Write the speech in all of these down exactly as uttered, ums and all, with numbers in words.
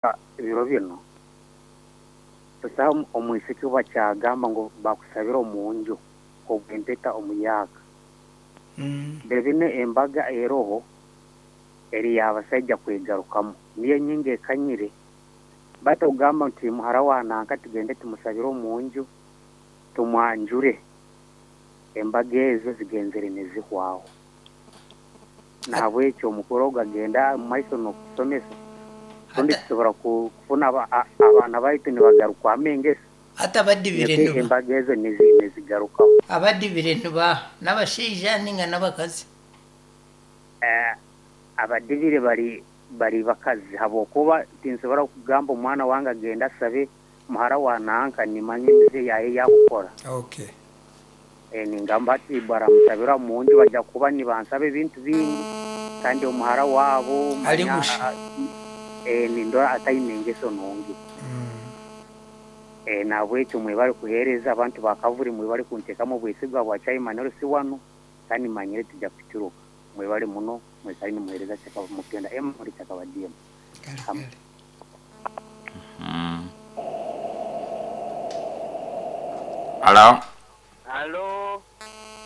Ebiro binu busaho omwisiki obu bakyagamba ngu bakusabira omunju obw'empeta omuyaaka. Mm. Biro binu embaga eroho eri y'abasaija kwegarukamu, niyo nyingi ekanyire. Baitu okugamba nti muhara wa nanka tugende tumusabire omunju tumwanjure, embaga ezo zigenzere nizihwaho. Na habwekyo omukoro ogu agenda mumaiso n'okutusomesa rundi Hata tusobora ku kufuna aba abaana baitu nibagarukwamu engeso hati abadibire nikwo niba embaga ezo nizi nizigarukaho. Abadibire nibaha? N'abashaija ninga n'abakazi? Eh, abadibire bari bari bakazi habwokuba tinsobora kugamba omwana wange agende asabe muhara wa nanka nimanya emize yaye eyakukora. Okay. Eh, ningamba hati baramusabira munju bajja kuba nibansaba ebintu bingi kandi omuhara waabo Ali manya busha. eh, nindora ataine engeso nungi. Mm. Eh, nahabwekyo mwebale kuheereza abantu ba Kavuri, mwebale kunteekamu obwesigwa bwa chairman L C wanu, kandi manyire tujja kuturuka. Mwebale muno, mwikale nimuheereza Kyakaba Mupenda M muri Kyakaba D M. Kale Am- kale. Mm. Hello. Halo.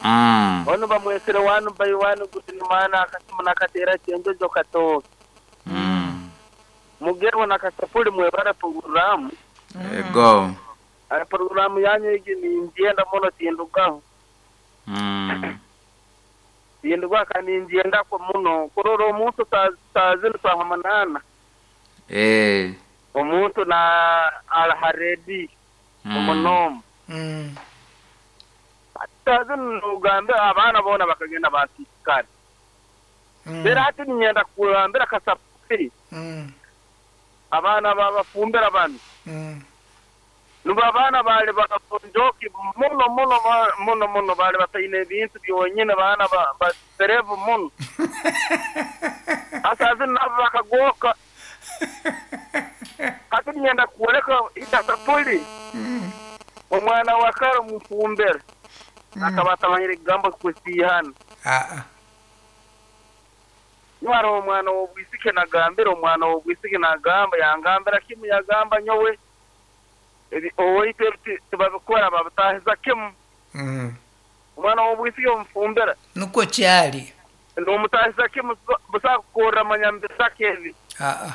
Mm. Ono bamwesere wanu by one kuti mana akasimu nakatera chenjojo katoke. Mm. Mugerwa nakasapuli mwebara programu. Ego. Aya programu yanyu igi ninjenda muno tindugaho. Mm. Tindugaho kandi ninjendako muno. Kurora omuntu saa zinu saaha munaana. Eh. Omuntu na alaha redi Mm. omunomu. Mm. Saa zinu nugambe abaana boona bakagenda basisikara. Mm. Rero hati ninyenda kugambira kasapuli Mm. abaana babafumbira banu. Mm. Nubo abaana baali bakonjoki muno muno muno muno, baali bataine ebintu byonyine, baana baserevu muno. Hasa zinu nabo bakagoka. Hati ninyenda kwoleka itasapuli Mm. omwana wa kare omufumbire akaba atamanyire ekigambo kusiihana. Ah ah. Niwara omwana w'obwisiki nagambira omwana w'obwisiki nagamba yangambira kimu, yagamba nyowe ebi owaitu ebi tibabikora babitahiza kimu. Mm. Omwana w'obwisiki omufumbira Nukwo kyali. nomutahiza kimu, busa kukorra manyambisaka ebi. Ah ah.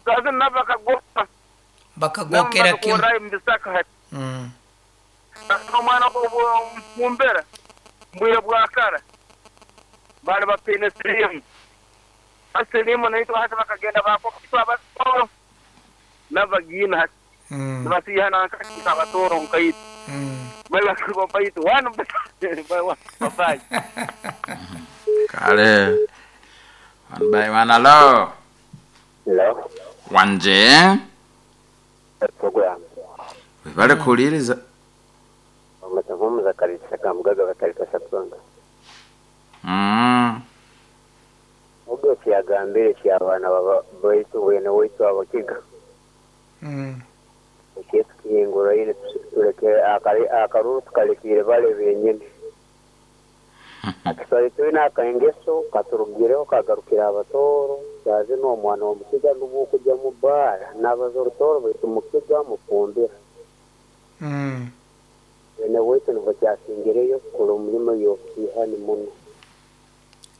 Saazi nabo bakagoka nabo Bakagokera kimu. bakakorra mubisaka hati. Mm. Omwana omufumbira mbwire bwa kara bali bataine siriimu, siriimu naitwe hati bakagenda bakokitwa abatoro nabagiina hati Mm. nibasihana nkakika abatoro nkaitu Mm. baitu wanu babayi. Kale. One by one. Hello. Hello. Wanje. Program. Webale kuwuliriza. Amatavumu kalisa kamugaga batalika satonga. Mm. Ubwo kyagambire ky'abaana baba baitu bwene waitu abakiga. Mm. Ekintu kihinguraine tuleke akali akaruru tukalekire bale benyini. Akiswahili tulina akangeso katurugireho kagarukira abatoro kyaze n'omwana w'omukiga n'obwokujya mu bbaara n'abaza orutoro baitu mukiga mufumbira. Mm. Bwene waitu nibwo kyasingireyo kukora omulimo y'obusiihani muno.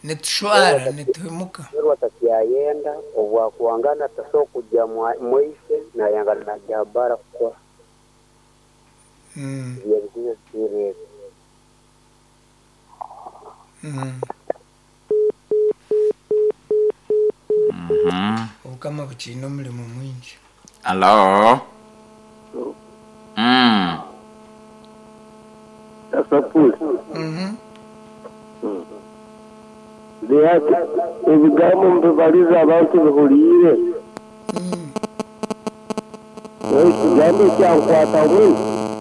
Nitushwara nituhemuka. Rero atakyayenda obwakuwangana tasobola kujja mwaise nayangana najja bbaara kukora. Mm. Byebizibu biri ebyo. Mm. Mhm. Obukama bukiine omurimo mwingi. Hello. Mm. Kasapuli. Mhm. Lihati ebigambo mubibaliza abantu bihuliire. Mm. Ekigambo ekyankwata muno.